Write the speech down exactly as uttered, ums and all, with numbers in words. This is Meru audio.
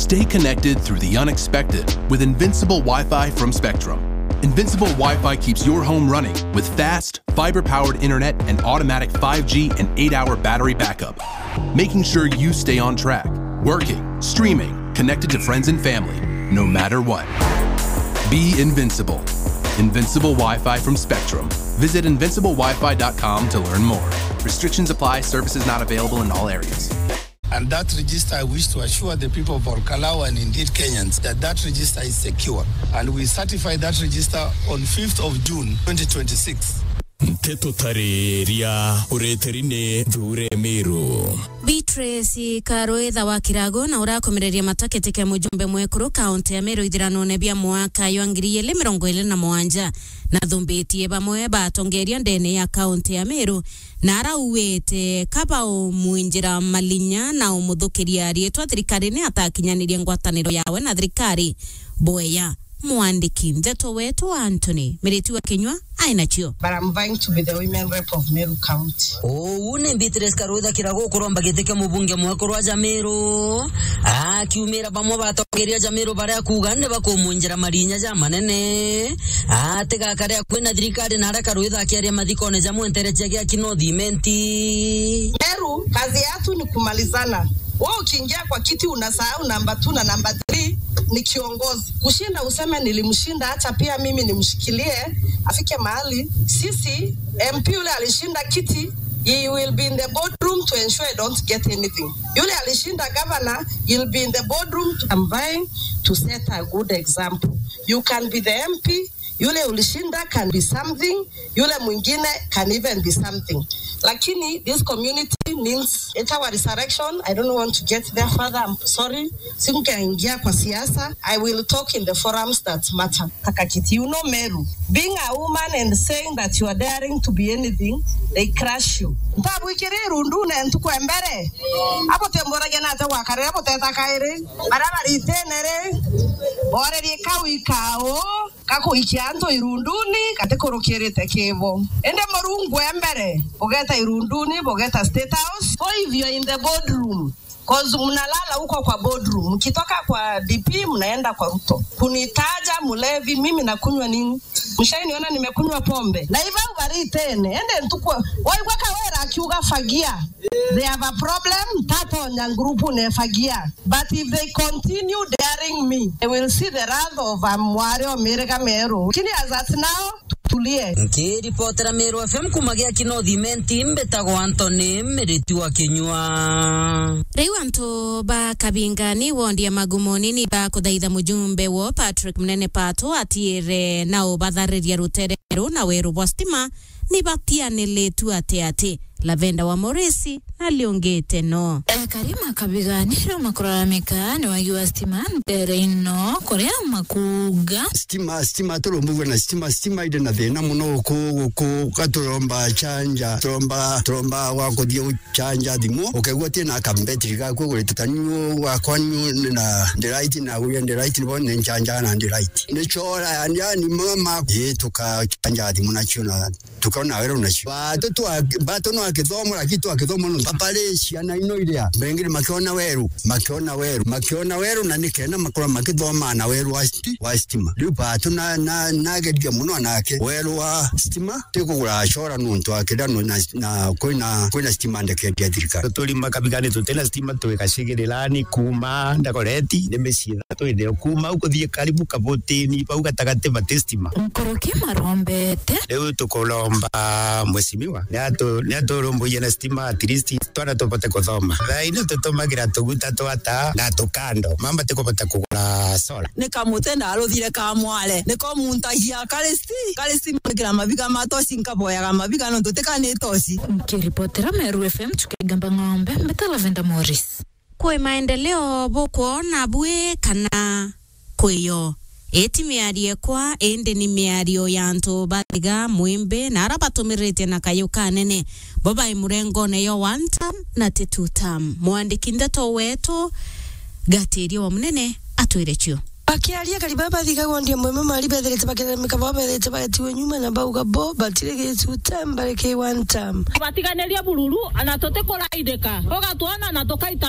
Stay connected through the unexpected with Invincible Wi-Fi from Spectrum. Invincible Wi-Fi keeps your home running with fast, fiber-powered internet and automatic five G and eight-hour battery backup, making sure you stay on track, working, streaming, connected to friends and family, no matter what. Be invincible. Invincible Wi-Fi from Spectrum. Visit invincible wi fi dot com to learn more. Restrictions apply. Services not available in all areas. And that register, I wish to assure the people of Olkalau and indeed Kenyans that that register is secure. And we certify that register on fifth of June twenty twenty-six. Nteto tariria ureteri ni Nthure Miru. Beatrice Karwitha wa Kirago na urakomereria matakete kia mujumbe mwekuru kaunti ya Meru ithiranone bia mwaka jwa ngiri igiri mirongo iri na mugwanja nathumbitie bamwe ba atongeria ndene ya kaunti ya Meru na arauite kaba umwinjira malinya na umuthukiria riitwa thirikarine atakinyanirie ngwataniro yawe na thirikari. Bweya, mwandiki ndeto wetu Anthony Miriti wa Kinyua ai nacio. But I'm vying to be the women rep of Meru County. Uu ni Beatrice Karwitha Kirago kuromba giti kia mubunge mwekuru wa Jamiru, akiumira bamwe batongeria Jamiru baria kuuga ni bakumwinjira marinya ja manene. Atigakare akui na thirikari na aria Karwitha akiaria mathikone ja mwenterecia gia Kinoo Thimenti. Meru, kazi yatu ni kumalizana. Wewe ukiingia kwa kiti unasahau namba two na namba three ni kiongozi. Kushinda useme nilimshinda, acha pia mimi nimshikilie, afike mahali. Sisi, M P yule alishinda kiti, he will be in the boardroom to ensure I don't get anything. Yule alishinda governor, he'll be in the boardroom to, I'm vying to set a good example. You can be the M P, yule ulishinda can be something, yule mwingine can even be something. Lakini this community means it's our resurrection. I don't want to get there further. I'm sorry. Singaingia kwa siasa. I will talk in the forums that matter. Takakiti, you know Meru. Being a woman and saying that you are daring to be anything, they crush you. Ntabwikire irundune ntuku ya mbere. Abo temboragia nate gwakare, abo teta kairi. Bara baritene ri. Borerie kau ikao. Gakuikia antu irunduni gatikurukirite kibo. Indi Murungu e mbere, bugeta irunduni, bugeta State House. So if you are in the boardroom, 'cause mnalala huko kwa boardroom, mkitoka kwa D P mnaenda kwa Ruto. Kunitaja mlevi, mimi nakunywa nini? Mshainiona nimekunywa pombe? Na hivyo ubaritene, ende ntukwe. Waigua Kawira akiuga fagia. They have a problem, tatonya ngurubu ne fagia. But if they continue daring me, they will see the wrath of a mwari o miriga Meru. Lakini as at now, tutulie. Nkiripotera Meru F M kuma gia Kinoo Thimenti, mbitagwa Anthony Miriti wa Kinyua. Riu antu ba Kabinga ni wondi ya Magumoni ni bakuthaitha mujumbe wo Patrick Munene Pato atiire na ubathariria rutere ru na weru bwa stima ni batianilitu ati ati. Lavenda wa Morisi na liungite no. Ekari ma Kabigani riu makuraramika ni wagi wa stima ntere ino kuria makuuga. Stima, stima, turumbugua na stima, stima iri na thina muno guku, guku, gaturomba chanja, turomba, turomba wa kuthia guchanja thimu, ukaigua ti na kambetiri gaku ugurite ta niu gwakwa niu ni na ndiraiti, na guria ndiraiti, nibo ni nchanja na ndiraiti. Ni chora, yani, yani, mama, ii, tukachanja thimu nacio na tukaona weru nacio. Batu twa-, batu no akithomo, lakini twa kithomo no papare ciana ino iria. Bengine makiona weru, makiona weru, makiona weru, na nikenda makora makithoma na weru wa sti-, wa stima. Riu batu na, na, nageria muno anake. Weru wa stima, tikugura acora nuntu akenda no na, na kwina, kwina stima ndeke ya thirikari. Turi Makabigani tutina stima, twi Gacigirirani kuma Ndagoreti, ni micii ithatu itheo. Kuma au kuthii karibu Kabutini, bau gatagati bati stima. Nkuruki marombete. Riu tukuromba mheshimiwa, ni atu-, ni aturumburie na stima, at least twana tubote kuthoma. Thaa ino tutumagira tuguta twa taa na tukando. Mama tikubota kugura solar. Ni kamuti na aruthire ka mware. Niko muntagia kari sti-, kari stima ngira mabiga ma toci, nkaboyaga mabiga nontu tika ni toci. Nkiripotera Meru F M, Chuka Igamba Ng'ombe, mbeta Lavenda Morris. Kwi maendeleo bukwona bwi kana kwiyo? Iti miario ekwa, indi ni miario ya antu ba Thiga, Mwimbi na ara batumirite na kayu kanene bo bai murengone yo one term na ti two term. Mwandiki ndeto wetu Gatiria wa Munene atwire cio. Bakiaria, kari baba Thiga wondi ya Mwimbi mari bethirite bakiremeka bo bethirite bagetiwe nyuma na bauga bo batiri gi two term, bari ki one term. Batiganirie bururu, ana tutikuraidika. Ugatwona na tukaita